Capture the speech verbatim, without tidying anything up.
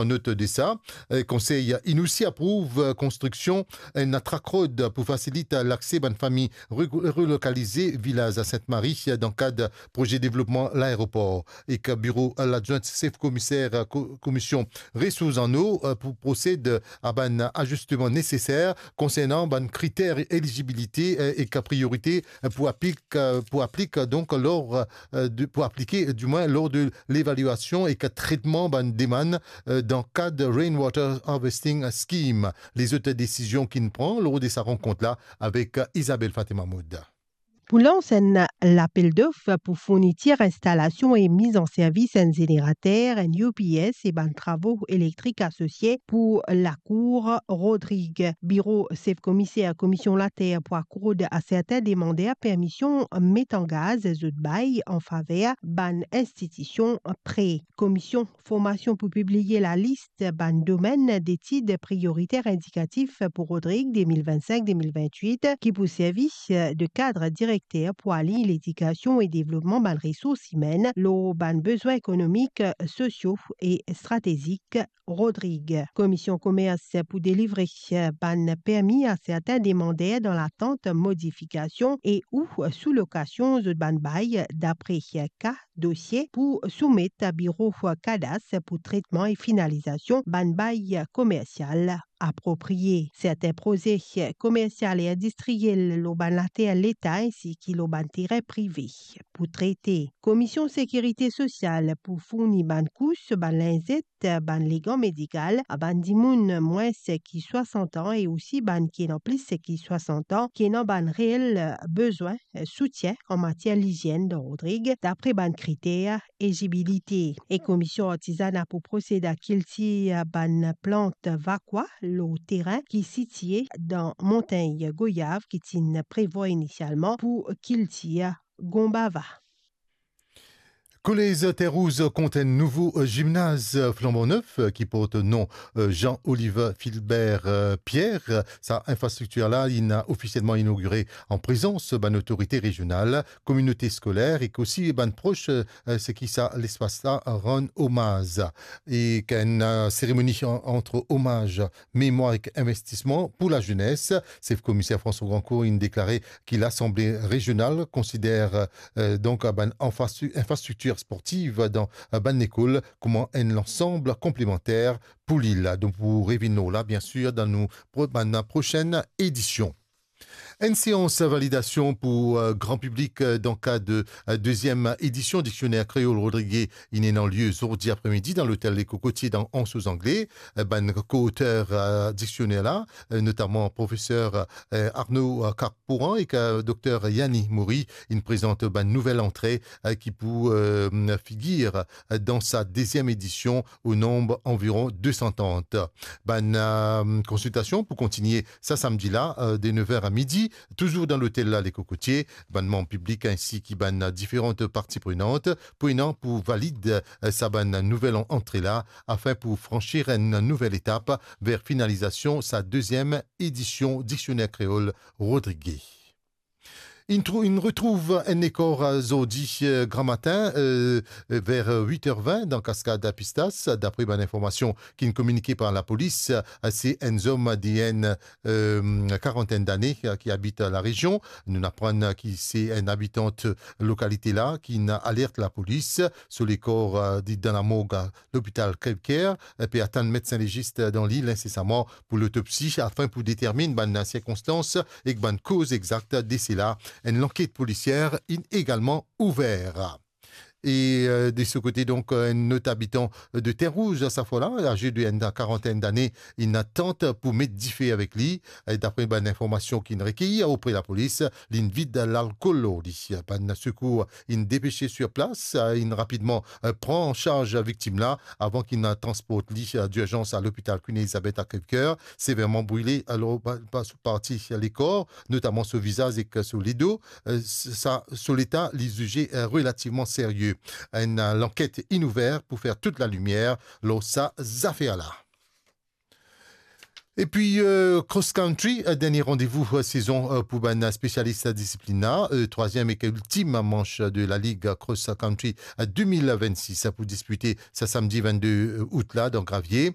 An not de sa, eh, Konsey inn osi aprouv, eh, konstriksion enn track road pou fasilit lakse bann fami re-, relokalize Vilaz Sint-Mari dan kad proze devlopman laeropor. Ek biro ladjwint sef komiser ko-, Komisyon Resours en Eau, eh, pou prosed a bann azisteman neseser konsernan bann kriter elizibilite, eh, ek priyorite, eh, pou aplik, eh, pou aplik, donk, lor, eh, de, pou aplike, dimwin, lor de levaliasion ek tretman bann demann, eh, dan kad Rainwater Harvesting Scheme. Lezot desizion ki'nn pran lor de sa rankont la avek Isabelle Fatima Maud. Pou lans enn lapel dof pou fournitir, instalasion e miz an servis enn zenerater, enn U P S e bann travo elektrik asosie pou lakour Rodrig. Biro sef komiser Komisyon Later pou akord a sertin demander permision met an gaz zot bay an faver bann institision pre. Komisyon Formasion pou pibliye lalis bann domenn detid priyoriter indikatif pou Rodrig de mil vennsenk de mil vennwit, ki pou servi de kad direkter pou align ledikasion e devlopman bann resours imenn lor bann bezwin ekonomik, sosio e stratezik Rodrig. Komisyon Komers pou delivre bann permi a sertin demander dan latant modifikasion e ou soulokasion zot bann bay dapre ka dosie pou soumet a biro kadas pou tretman e finalizasion bann bay komersial apropriye. Sertin proze komersial e indistriyel lor bann later Leta ensi ki lor bann terin prive pou trete. Komisyon Sekirite Sosial pou fourni bann kous, bann linzet, bann legan medikal a bann dimoun mwins ki swasant an e osi bann ki ena plis ki swasant an, ki ena bann reel bezwin soutien an matier lizienn dan Rodrig, dapre bann kriter elizibilite. E Komisyon Artizana pou prosed a kiltir bann plant vakwa lor terin ki sitie dan Montagn Goyav ki ti'nn prevwar inisialman pou kiltir gonbava. Kolez Terre Rouge kont enn nouvo, eh, zimnaz, eh, flanban nef, eh, ki port nom, eh, Jean Oliver Philibert, eh, Pierre. Sa infrastriktir la inn ofisielman inogire an prezans bann otorite rezional, kominote skoler ek osi bann pros, eh, seki sa lespas la rann omaz. E enn, eh, seremoni an-, ant omaz, memwar ek investisman pou lazenes. Sef Komiser François Grandcourt inn deklare ki Lasanble Rezional konsider, eh, donk, bann infrastru-, infrastriktir sportiv dan, eh, bann lekol kouma enn lansam konplemanter pou lil. Donk, pou revinn lor la, biensir, dan nou pro-, bann prosenn edision. Enn seans validasion pou, eh, gran piblik, eh, dan kad, eh, deziem edision Diksioner Kreol Rodrige inn ena lie zordi apremidi dan lotel Le Cocotier dan Anse aux Anglais. Eh, bann ko-oter, eh, diksioner la, eh, notaman profeser, eh, Arnaud, eh, Carpouran ek, eh, dokter Yanni Maury, inn prezant bann nouvel antre, eh, ki pou, eh, figir, eh, dan sa deziem edision, o nonb anviron de san trant. Bann, eh, konsiltasion pou kontinie sa samdi la, eh, de nev er a midi, touzour dan lotel la Le Cocotier. Bann manm piblik ensi ki bann diferan parti prenant pou ena pou valid, eh, sa bann nouvel an-, antre la, afin pou fransir enn nouvel etap ver finalizasion sa deziem edision Diksioner Kreol Rodrige. Inn trou-, inn retrouv enn lekor, eh, zordi, eh, gramatin, eh, ver wit er vin dan Kaskad Pistas, dapre bann informasion ki'nn kominike par lapolis. Eh, se enn zom de enn, eh, karantenn dane, eh, ki abit larezion. Nou'nn aprann ki se enn abitant lokalite la ki'nn alert lapolis. So lekor, eh, li dan lamorg lopital Crèvecoeur, eh, pe atann medsin legis dan lil insesaman pou lotopsi, afin pou determinn bann sirkonstans ek bann koz exakt dese la. Enn lanket polisier inn egalman ouver. E, eh, de so kote, donk, eh, enn lot abitan de Terre Rouge, sa fwa la, aze de enn karantenn dane, inn tant pou met dife avek li. E dapre bann informasion ki'nn rekeyi opre lapolis, li'nn vid lalkol lor li. Bann sekour inn depese sir plas, eh, inn rapidman, eh, pran an sarz viktim la avan ki'nn transport li, eh, dirzans a lopital Queen Elizabeth a Crèvecoeur, severman brile, alor, pa, pa so parti lekor, notaman so vizaz ek so ledo, eh, sa, so leta li zize, eh, relativman serye. Enn, eh, lanket inn ouver pou fer tou lalimier lor sa zafer la. Epi, euh, cross country, euh, dernie randevou, euh, sezon, euh, pou bann spesialis disiplin la, euh, trwaziem ek iltim manch de la Ligue Cross Country, euh, de mil vennsis, pou dispite sa samdi vennde out la dan Gravier.